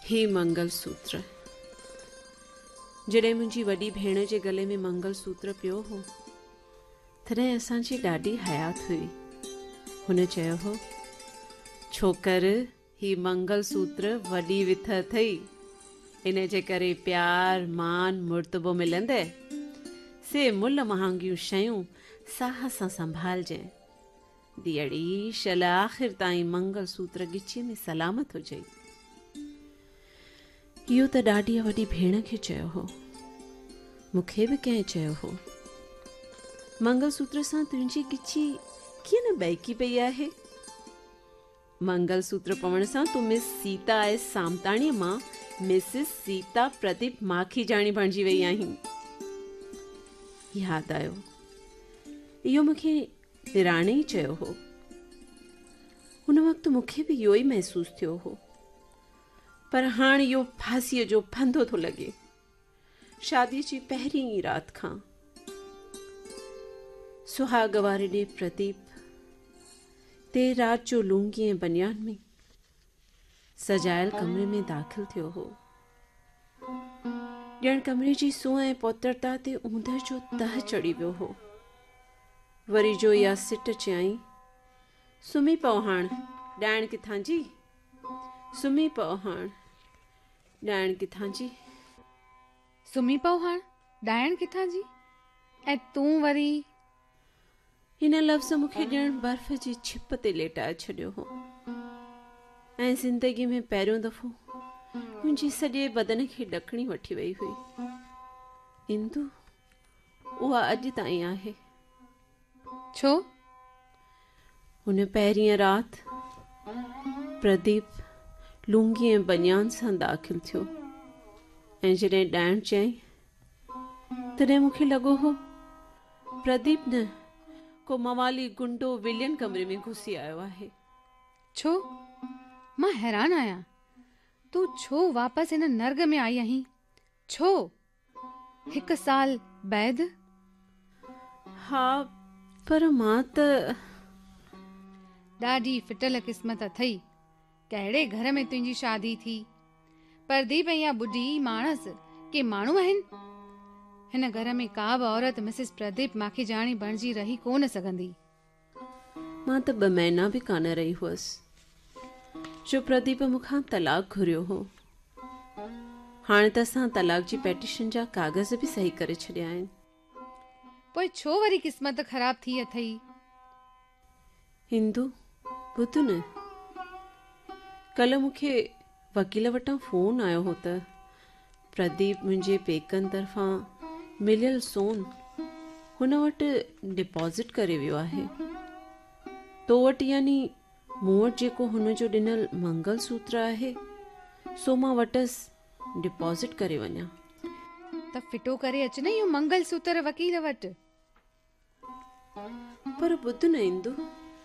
هي منگل سوتر. جڏهن منهنجي وڏي ڀيڻ جي گلي ۾ منگل سوتر پيو هو، تڏهن اسان جي ڏاڏي حيات هئي. هن چيو هو، ڇوڪر هي منگل سوتر وڏي وٿ اٿئي. ان جي ڪري پيار، مان، مرتبو ملندئي. سي ملهه مهانگيون شيون ساهه سان سنڀالجين. ڌيئڙي شل آخر تائين منگل سوتر ڳچيء ۾ سلامت هجئي. اهو ته ڏاڏيء وڏي ڀيڻ کي چيو هو. مون کي به ڪنهن چيو هو. منگل سوتر سان تنهنجي ڳچي ڪيئن نه ٻهڪي پئي آهي. منگل سوتر پوڻ سان تون مس سيتا ايس سامتاڻيء مان مسز سيتا پرديپ ماکيجاڻي بڻجي وئي آهين. ياد آيو. اهو مون کي نراڻي ئي چيو هو. ان وقت مون کي به اهو ئي محسوس ٿيو هو. پر هاڻ اهو ڦاسيء جو ڦندو ٿو لڳي. شاديء جي پهرين ئي رات کان سهاڳ واري ڏينهن پرديپ دير رات جو لونگي ۽ بنيان ۾ سجايل ڪمري ۾ داخل ٿيو هو. ڄڻ ڪمري جي سونهن ۽ پوترتا تي اوندهه جو تهه چڙهي ويو هو. وري جو اها سٽ چيائين، سمهي پئو هاڻ، ڏائڻ ڪٿان جي؟ سمهي پئو هاڻ، ڏائڻ ڪٿان جي؟ سمهي پئو هاڻ، ڏائڻ ڪٿان جي؟ ۽ تون وري. هن لفظ مون کي ڄڻ برف جي ڇپ تي ليٽائي ڇڏيو هو ۽ زندگيء ۾ پهريون دفعو منهنجي سڄي بدن کي ڏڪڻي وٺي وئي هئي. اندو، اها اڄ تائين آهي. ڇو؟ ان پهرينء رات پرديپ لونگي ۽ بنيان سان داخل ٿيو ۽ جڏهن ڏائڻ چيائين تڏهن مون کي لڳو هو پرديپ نه ڪو موالي گنڊو ولين ڪمري ۾ گهسي آيو آهي. ڇو؟ مان حيران آهيان. تون ڇو واپس هن نرڳ ۾ آئي آهين؟ ڇو؟ هڪ سال بعد؟ ها پر مان ته. ڏاڍي ڦٽل قسمت اٿئي. ڪهڙي گهر ۾ تنهنجي شادي ٿي. پرديپ ۽ اها ٻڍي ماڻس ڪي ماڻهو آهن؟ هن گهر ۾ ڪا به عورت مسز پرديپ ماکيجاڻي بڻجي رهي ڪونه سگهندي. مان ته ٻه مهينا به ڪانه رهي هئس جو پرديپ مون کان طلاق گهريو هو. هاڻي ته اسان طلاق جي پيٽيشن جا ڪاغذ به صحيح ڪري ڇڏيا آهن. پوء ڇو وري قسمت خراب ٿي اٿئي؟ هندو، ٻڌ نه. ڪلهه مون کي وڪيل وٽان فون آيو هو ته پرديپ منهنجي پيڪن طرفان مليل سون هن وٽ ڊپازٽ ڪري ويو آهي. تو وٽ يعني مون وٽ جيڪو هن جو ڏنل منگل سوتر آهي سو مان وٽس ڊپازٽ ڪري وڃان. ته ڦٽو ڪري اچ نه اهو منگل سوتر وڪيل وٽ. پر ٻڌ نه اندو.